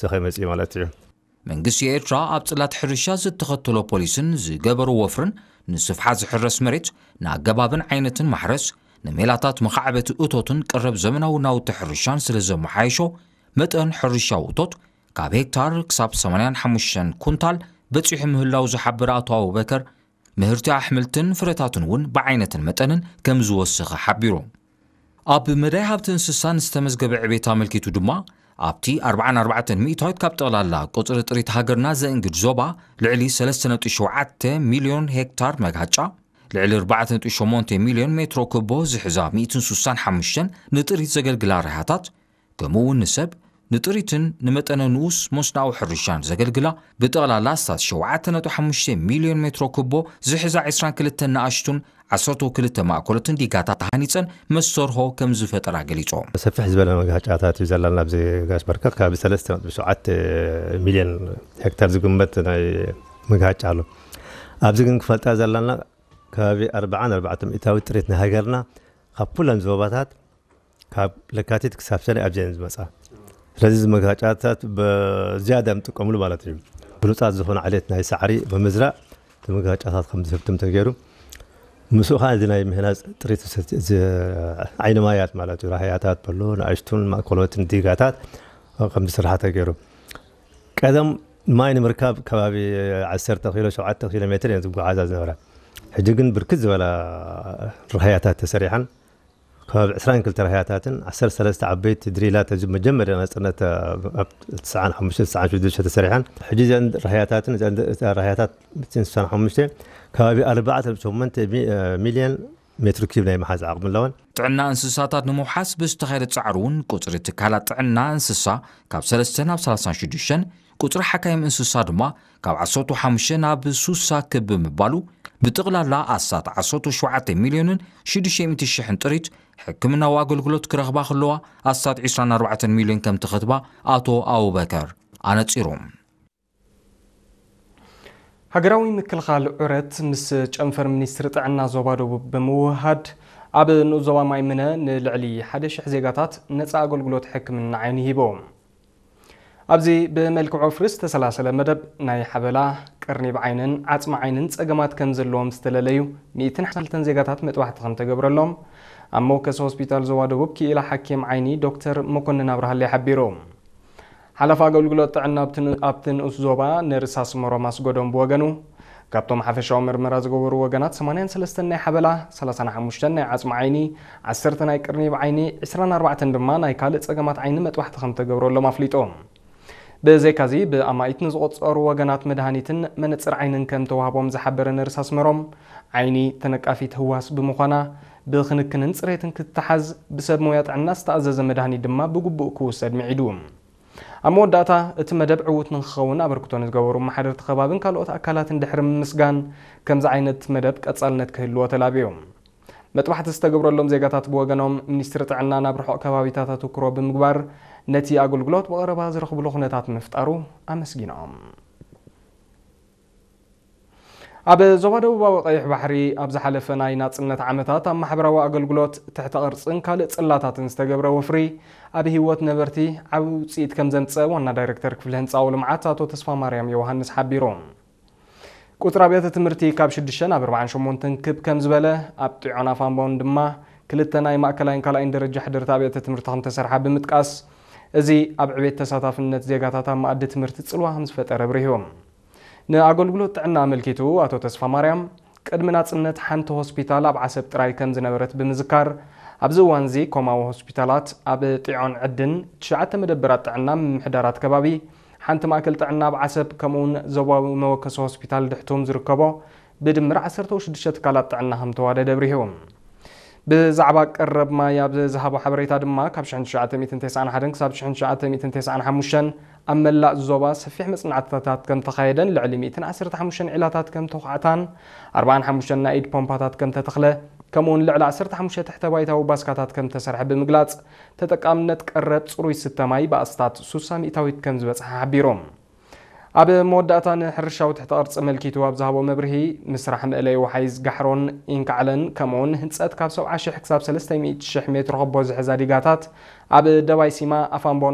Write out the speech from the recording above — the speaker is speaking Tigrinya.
ዝኸመፅ ማለት እዩ። መንግስቲ ኤርትራ ኣብ ጽላት ሕርሻ ዝተኸተሎ ፖሊስን ዝገበሮ ወፍርን ንስፍሓት ዝሕረስ መሬት ንኣገባብን ዓይነትን ማሕረስ ንሜላታት መኻዕበቲ እቶትን ቀረብ ዘመናዊ ናውቲ ሕርሻን ስለ ዘመሓየሾ መጠን ሕርሻዊ እቶት ካብ ሄክታር ክሳብ ሰማንያን ሓሙሽተን ኩንታል በጺሑ ምህላው ዝሓበረ ኣቶ ኣቡበከር ምህርቲ ኣሕምልትን ፍረታትን እውን ብዓይነትን መጠንን ከም ዝወሰኸ ሓቢሩ። ኣብ መዳይ ሃብቲ እንስሳን ዝተመዝገበ ዕቤት ኣመልኪቱ ድማ ኣብቲ ኣርባዓን ኣርባዕተን ሚእታዊት ካብ ጠቕላላ ቁፅሪ ጥሪት ሃገርና ዘእንግድ ዞባ ልዕሊ ሰለስተ ነጥቢ ሸውዓተ ሚልዮን ሄክታር መግሃጫ ልዕሊ ኣርባዕተ ነጥቢ ሸሞንተ ሚልዮን ሜትሮ ክቦ ዝሕዛ ሚእትን ስሳን ሓሙሽተን ንጥሪት ዘገልግላ ርሃታት ከምኡ እውን ንሰብ ንጥሪትን ንመጠነ ንኡስ መስናዊ ሕርሻን ዘገልግላ ብጠቕላላ ኣስታት ሸውዓተ ነጥቢ ሓሙሽተ ሚልዮን ሜትሮ ክቦ ዝሕዛ ዕስራን ክልተን ንኣሽቱን ዓሰርተ ክልተ ማእከሎትን ዲጋታት ተሃኒፀን መሰርሆ ከም ዝፈጠራ ገሊፆም። ሰፍሕ ዝበለ መግሃጫታት እዩ ዘለና ኣብዚ ጋሽ በርከክ ካብ ሰለስተ ነጥቢ ሸውዓተ ሚልዮን ሄክታር ዝግመት ናይ መግሃጫ ኣሎ። ኣብዚ ግን ክፈልጣ ዘለና ከባቢ ኣርባዓን ኣርባዕተ ሚእታዊ ጥሪት ናይ ሃገርና ካብ ኩለን ዞባታት ካብ ለካቲት ክሳብ ሰነ ኣብዚአን ዝመፃ። ስለዚ እዚ መግሃጫታት ብዝያዳ ንጥቀምሉ ማለት እዩ። ብሉፃት ዝኾነ ዓሌት ናይ ሳዕሪ ብምዝራእ እቲ መግሃጫታት ከም ዝህብትም ተገይሩ ምስኡ ከዓ እዚ ናይ ምህናፅ ጥሪት ዝሰቲ- እዚ ዓይኒ ማያት ማለት እዩ። ራህያታት በሎ ንኣሽቱን ማእከሎትን ዲጋታት ከም ዝስራሕ ተገይሩ። ቀደም ማይ ንምርካብ ከባቢ ዓሰርተ ኪሎ ሸውዓተ ኪሎ ሜትር እየን ዝጓዓዛ ዝነበራ። ሕጂ ግን ብርክት ዝበላ ራህያታት ተሰሪሐን ከባቢ ዕስራን ክልተ ራህያታትን ዓሰርተ ሰለስተ ዓበይቲ ድሪላት እዚ መጀመርያ ናፅነት ኣብ ትስዓን ሓሙሽተ ትስዓን ሽዱሽተ ተሰሪሐን ሕጂ እዘን ራህያታትን እዘን ራህያታት ስሳን ሓሙሽተ ከባቢ ኣርባዕተ ሸሞንተ ሚልዮን ሜትር ኪብ ናይ መሓዝ ዓቕሚ ኣለወን። ጥዕና እንስሳታት ንምውሓስ ብዝተኻየደ ፃዕሪ እውን ቁፅሪ ትካላት ጥዕና እንስሳ ካብ ሰለስተ ናብ ሰላሳን ሽዱሽተን ቁፅሪ ሓካይም እንስሳ ድማ ካብ ዓሰርተ ሓሙሽተ ናብ ሱሳ ክብ ብምባሉ ብጥቕላላ ኣስታት ዓሰርተ ሸውዓተ ሚልዮንን ሽዱሽተ ሚእቲ ሽሕን ጥሪት ሕክምናዊ ኣገልግሎት ክረኽባ ከለዋ ኣስታት ዕስራን ኣርባዕተን ሚልዮን ከም ተኸትባ ኣቶ ኣቡበከር ኣነፂሩ። ሃገራዊ ምክልኻል ዑረት ምስ ጨንፈር ሚኒስትሪ ጥዕና ዞባ ደቡብ ብምውህሃድ ኣብ ንኡስ ዞባ ማይምነ ንልዕሊ ሓደ ሽሕ ዜጋታት ነፃ ኣገልግሎት ሕክምና ዓይኒ ሂቦም። ኣብዚ ብመልክዕ ወፍሪ ዝተሰላሰለ መደብ ናይ ሓበላ፣ ቅርኒብ ዓይንን ዓፅሚ ዓይንን ፀገማት ከም ዘለዎም ዝተለለዩ ሚእትን ሓምሳን ክልተን ዜጋታት መጥባሕቲ ከም ተገብረሎም ኣብ መወከሲ ሆስፒታል ዞባ ደቡብ ክኢላ ሓኪም ዓይኒ ዶክተር መኮንን ኣብርሃለይ ሓቢሩ። ሓላፊ ኣገልግሎት ጥዕና ኣብቲ ን- ኣብቲ ንኡስ ዞባ ነርስ ኣስመሮም ኣስገዶም ብወገኑ ካብቶም ሓፈሻዊ ምርመራ ዝገበሩ ወገናት ሰማንያን ሰለስተን ናይ ሓበላ፣ ሰላሳን ሓሙሽተን ናይ ዓፅሚ ዓይኒ፣ ዓሰርተ ናይ ቅርኒብ ዓይኒ፣ ዕስራን ኣርባዕተን ድማ ናይ ካልእ ፀገማት ዓይኒ መጥባሕቲ ከም ተገብረሎም ኣፍሊጡ። ብዘይካዚ ብኣማኢት ንዝቆፀሩ ወገናት መድሃኒትን መነፅር ዓይንን ከም ተዋህቦም ዝሓበረ ነርስ ኣስመሮም ዓይኒ ተነቃፊት ህዋስ ብምዃና ብክንክንን ፅሬትን ክትተሓዝ ብሰብ ሞያ ጥዕና ዝተኣዘዘ መድሃኒት ድማ ብግቡእ ክውሰድ ምዒዱ። ኣብ መወዳእታ እቲ መደብ ዕዉት ንክኸውን ኣበርክቶ ንዝገበሩ መሓደርቲ ከባብን ካልኦት ኣካላትን ድሕሪ ምምስጋን ከምዚ ዓይነት መደብ ቀፃልነት ክህልዎ ተላብዮም። መጥባሕቲ ዝተገብረሎም ዜጋታት ብወገኖም ሚኒስትሪ ጥዕና ናብ ርሑቕ ከባቢታት ኣተኩሮ ብምግባር ነቲ ኣገልግሎት ብቐረባ ዝረኽብሉ ኩነታት ምፍጣሩ ኣመስጊኖም። ኣብ ዞባ ደቡባዊ ቀይሕ ባሕሪ ኣብ ዝሓለፈ ናይ ናጽነት ዓመታት ኣብ ማሕበራዊ ኣገልግሎት ትሕተ ቅርጽን ካልእ ጽላታትን ዝተገብረ ወፍሪ ኣብ ህይወት ነበርቲ ዓቢ ውጽኢት ከም ዘምጸ ዋና ዳይሬክተር ክፍሊ ህንጻዊ ልምዓት ኣቶ ተስፋ ማርያም ዮሃንስ ሓቢሩ። ቁጽሪ ኣብያተ ትምህርቲ ካብ ሽዱሽተ ናብ ኣርባዓን ሸሞንተን ክብ ከም ዝበለ ኣብ ጢዖን ኣፋምባውን ድማ ክልተ ናይ ማእከላይን ካልኣይን ደረጃ ሕድርቲ ኣብያተ ትምህርቲ ከም ተሰርሓ ብምጥቃስ እዚ ኣብ ዕቤት ተሳታፍነት ዜጋታት ኣብ መኣዲ ትምህርቲ ጽልዋ ከም ዝፈጠረ ኣብሪሁ። ንኣገልግሎት ጥዕና ኣመልኪቱ ኣቶ ተስፋማርያም ቅድሚ ናጽነት ሓንቲ ሆስፒታል ኣብ ዓሰብ ጥራይ ከም ዝነበረት ብምዝካር ኣብዚ እዋንዚ ኮማዊ ሆስፒታላት ኣብ ጢዖን ዕድን ትሽዓተ መደበራት ጥዕና ምምሕዳራት ከባቢ ሓንቲ ማእከል ጥዕና ኣብ ዓሰብ ከምኡውን ዞባዊ መወከሲ ሆስፒታል ድሕቱም ዝርከቦ ብድምር ዓሰርተ ሽዱሽተ ትካላት ጥዕና ከም ተዋደደ ኣብሪሁ። ብዛዕባ ቀረብ ማይ ኣብ ዝሃቦ ሓበሬታ ድማ ካብ ሽሕን ትሽዓተ ሚእትን ተስዓን ሓደን ክሳብ ሽሕን ትሽዓተ ሚእትን ተስዓን ሓሙሽተን ኣብ መላእ ዞባ ሰፊሕ መጽናዕትታት ከም ተኻየደን ልዕሊ ሚእትን ዓሰርተ ሓሙሽተን ዒላታት ከም ተዃዕታን ኣርባዓን ሓሙሽተን ናይ ኢድ ፖምፓታት ከም ተተኽለ ከምኡውን ልዕሊ ዓሰርተ ሓሙሽተ ትሕተ ባይታዊ ባስካታት ከም ተሰርሐ ብምግላጽ ተጠቃምነት ቀረብ ጽሩይ ስተ ማይ ብኣስታት ሱሳ ሚእታዊት ከም ዝበጽሐ ሓቢሩ። ኣብ መወዳእታ ንሕርሻዊ ትሕተ ቅርጺ መልኪቱ ኣብ ዝሃቦ መብርሂ ምስራሕ መእለይ ወሓይዝ ጋሕሮን ኢንካዕለን ከምኡውን ህንጸት ካብ ሰብዓ ሽሕ ክሳብ ሰለስተ ሚእቲ ሽሕ ሜትሮ ክቦ ዝሕዛ ዲጋታት ኣብ ደባይ ሲማ ኣፋምቦን